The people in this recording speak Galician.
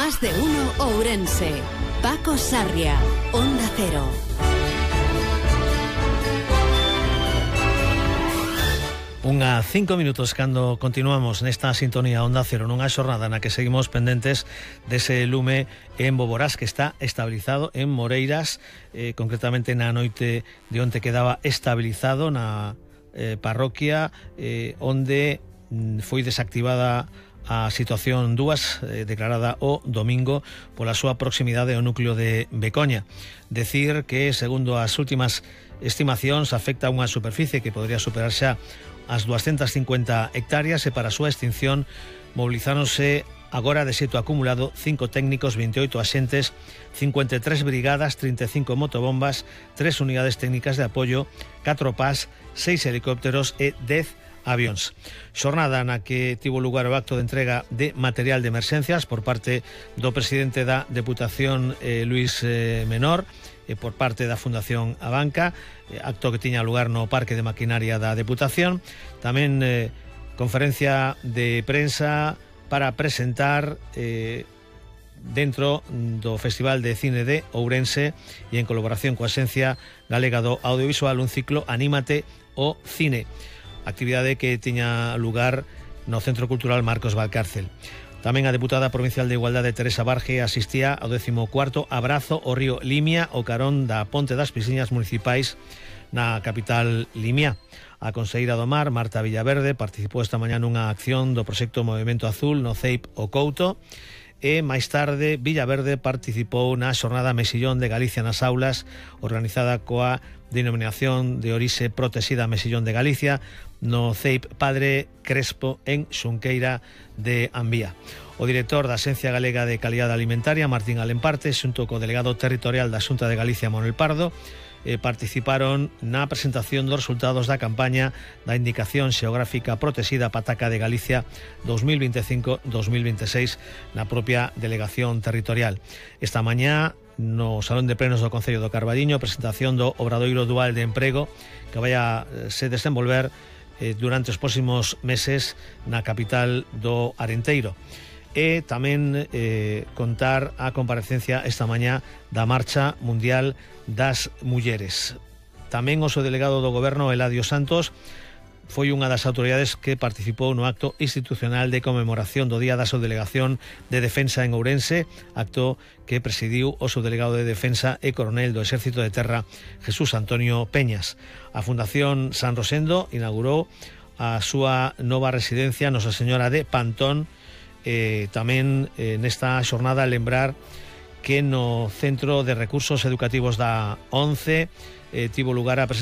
Más de uno Ourense. Paco Sarria, Onda Cero. Unha 5 minutos cando continuamos nesta sintonía Onda Cero nunha xornada na que seguimos pendentes dese lume en Boborás que está estabilizado en Moreiras, concretamente na noite de onte quedaba estabilizado na parroquia onde foi desactivada a situación 2 declarada o domingo pola súa proximidade ao núcleo de Becoña. Decir que, segundo as últimas estimacións, afecta a unha superficie que podría superar xa as 250 hectáreas e para a súa extinción mobilizáronse agora de xeito acumulado 5 técnicos, 28 axentes, 53 brigadas, 35 motobombas, 3 unidades técnicas de apoio, 4 PAS, 6 helicópteros e 10 avións. Xornada na que tivo lugar o acto de entrega de material de emerxencias por parte do presidente da Deputación, Luis Menor, e por parte da Fundación Abanca, acto que tiña lugar no Parque de Maquinaria da Deputación. Tamén conferencia de prensa para presentar dentro do Festival de Cine de Ourense e en colaboración coa Axencia Galega do Audiovisual un ciclo Anímate o Cine, actividade que tiña lugar no Centro Cultural Marcos Valcárcel. Tamén a deputada provincial de Igualdade Teresa Barge asistía ao 14º abrazo ao río Limia o carón da Ponte das Piscinas municipais na capital limia. A conselleira do Mar, Marta Villaverde, participou esta mañá nunha acción do proxecto Movimento Azul no CEIP O Couto e máis tarde Villaverde participou na xornada Mexillón de Galicia nas aulas organizada coa denominación de orixe protexida Mexillón de Galicia no CEIP Padre Crespo en Xunqueira de Ambía. O director da Axencia Galega de Calidade Alimentaria, Martín Alemparte, xunto co delegado territorial da Xunta de Galicia, Manuel Pardo, participaron na presentación dos resultados da campaña da Indicación Xeográfica Protexida Pataca de Galicia 2025-2026 na propia delegación territorial. Esta mañá, no Salón de Plenos do Concello do Carballiño, presentación do Obradoiro Dual de Emprego que vai a se desenvolver durante os próximos meses na capital do Arenteiro. E tamén contar a comparecencia esta mañá da Marcha Mundial das Mulleres. Tamén o seu delegado do Goberno, Eladio Santos, foi unha das autoridades que participou no acto institucional de conmemoración do Día da Subdelegación de Defensa en Ourense, acto que presidiu o subdelegado de Defensa e coronel do Exército de Terra, Jesús Antonio Peñas. A Fundación San Rosendo inaugurou a súa nova residencia Nosa Señora de Pantón. Tamén nesta xornada lembrar que no Centro de Recursos Educativos da ONCE tivo lugar a presentación